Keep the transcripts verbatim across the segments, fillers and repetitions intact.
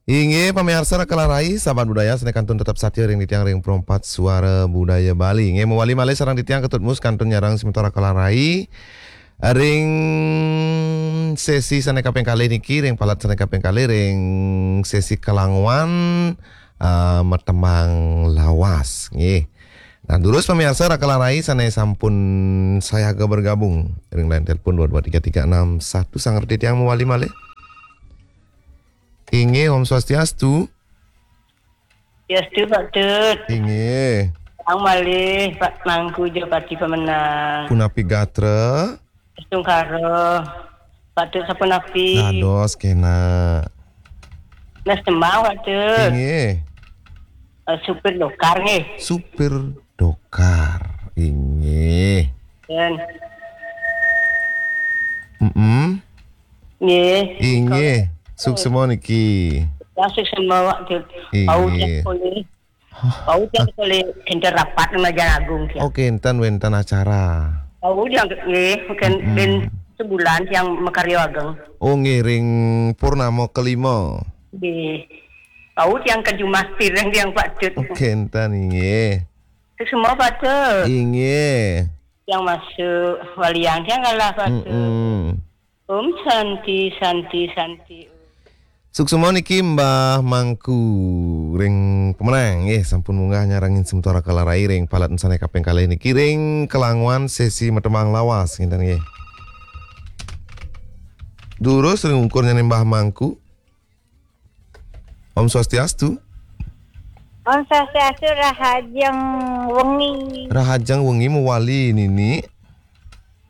Inggih, pamiarsa Raka Larai, sahabat budaya, sané kantun tetep satia ring titiang ring Pro empat Suara Budaya Bali. Inggih, mawali malih sareng titiang Ketut Mus kantun nyarengin semeton Raka Larai ring sesi sané kaping kalih niki, ring palet sané kaping kalih, ring sesi Kelanguan, eh, Matembang Lawas. Nggih. Nah, durus pamiarsa Raka Larai sané sampun sayaga bergabung ring line telepon dua dua tiga tiga enam satu, sareng titiang mawali malih. Inggih, Om Swastiastu. Swastiastu, Pak Tut. Inggih. Ang malih, Pak Mangku Japati Pemenang. Punapi gatra? Astungkara. Pak Tut sapunapi? Dados kénak. Nah, sembah, Pak Tut. Inggih. Eh, supir dokar, nggih. Supir dokar. Inggih. Dan Mm-mm. Nggih. Inggih. Suksma niki. Ya, suksma, Pak Tut. Inggih. Bau tiang kuli. Bau tiang kuli, kinten rapat Lumajang Agung, tiang. Oh, kinten wénten acara. Bau tiang nggih, mungkin Mm-mm. Bin sebulan tiang makarya ageng. Oh, nggih, ring purnama kelima. Nggih. Bau tiang ka jumah piring tiang, Pak Tut. Oh, kinten, inggih. Suksma, Pak Tut. Inggih. Tiang masuk, waliang tiang kalah, Pak Tut. Mm-mm. Om Santi, Santi, Santi. Suksma niki Mbah Mangku ring Pemenang, nggih, sampun munggah nyarengin semeton Raka Larai ring palet sané kaping kalih niki ring Kelanguan sesi Matembang Lawas, ngénten nggih. Durus ring ungkurnyané Mbah Mangku. Om Swastiastu. Om Swastiastu, rahajeng wengi. Rahajeng wengi mawali, Nini.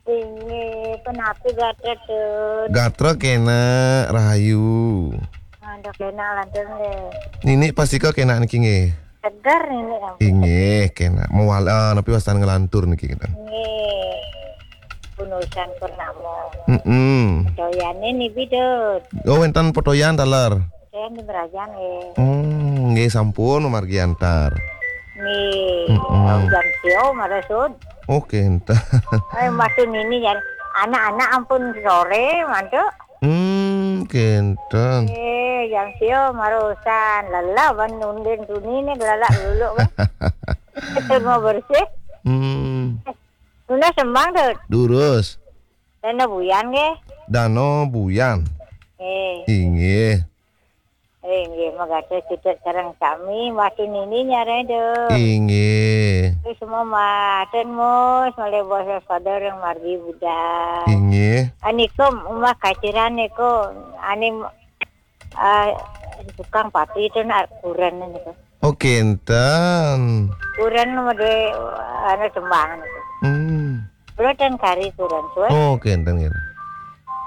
Inggih, punapi gatra, Tut? Gatra kénak, rahayu. Aduh, kénak lantur nggih. Nini pastika kénak niki nggih. Seger nini, ampun. Inggih, kénak. Mawali, ah, napi wastan nglantur niki kita. Nggih. Punusan purnama. Mm-mm. Potoyané nipi, Tut? Oh, wénten potoyan taler. Saya di Merajan, nggih. Hmm, nggih sampun mamargi antar. Nggih. Mm-mm. Jam sia marasud. Oh, kénten. Eh, maksud nini ya, anak-anak ampun sore, mantuk. Hmm, kénten. Eh, jam sia marusan. Lelah ban undin tuni ni, gelalak dulu kan. Itu mau bersih. Hmm. Tuna sembang, Tut. Durus. Dana Buyan nggih. Dana Buyan. Eh. Inggih. Eh, nggih, magatra cedhak sareng sami, Mbah Tunini nyareng, Dut. Inggih. Wis semua maten, Mus, malih basa sadar yang margi budal. Inggih. Anika umah kaciran niku, ane, eh, tukang pati itu nak kuren niku. Oh, kenten. Kuren mede, anu, sembangan itu. Hmm. Kula ten kari kuren, suwe. Oh, kenten, kenten.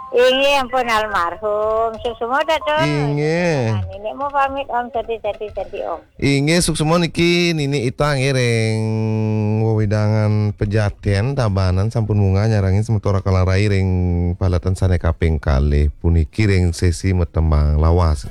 Inggih, ampun almarhum. Suksma ta, Tut? Inggih. Nah, Nini mau pamit, Om. Sadi, sadi, sadi, Om. Inggih, suksma niki Nini Ita nggih ring wewidangan Pejaten, Tabanan sampun munggah nyarengin semeton Raka Larai ring paletan sane kaping kalih puniki ring sesi matembang lawas.